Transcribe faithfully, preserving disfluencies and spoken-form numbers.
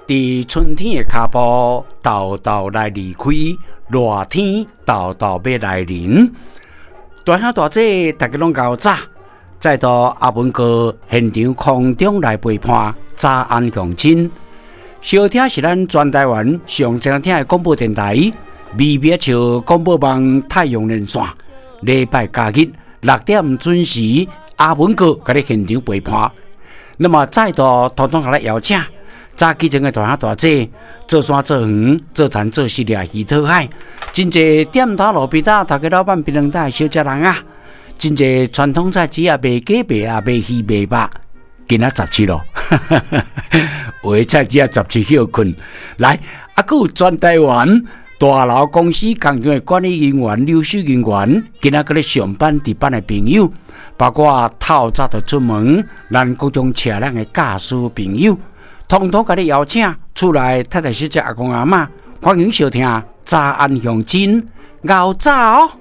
佇春天的跤步，沓沓來離開，熱天沓沓欲來臨。大兄大姐，大家攏𠢕早，再度阿文哥現場空中來陪伴，早安鄉親。收聽是咱全台灣上正聽的廣播電台，微微笑廣播網太陽連線，禮拜假日六點準時，阿文哥共你現場陪伴。那麼再度統統共你邀請。早起床的大兄大姐，做山做園、做田做穡掠魚討海，真濟店頭路邊摊頭家老闆檳榔摊小食人啊，真濟傳統菜市啊賣雞賣鴨賣魚賣肉，今仔十七咯，有的菜市啊十七歇睏，來，啊，閣有全台灣大樓公司工廠的管理人員、留守人員，今仔閣咧上班值班的朋友，包括透早就出門，咱各種車輛的駕駛朋友。統統共你邀請厝內太太小姐阿公阿嬤，歡迎收聽早安鄉親，𠢕早哦。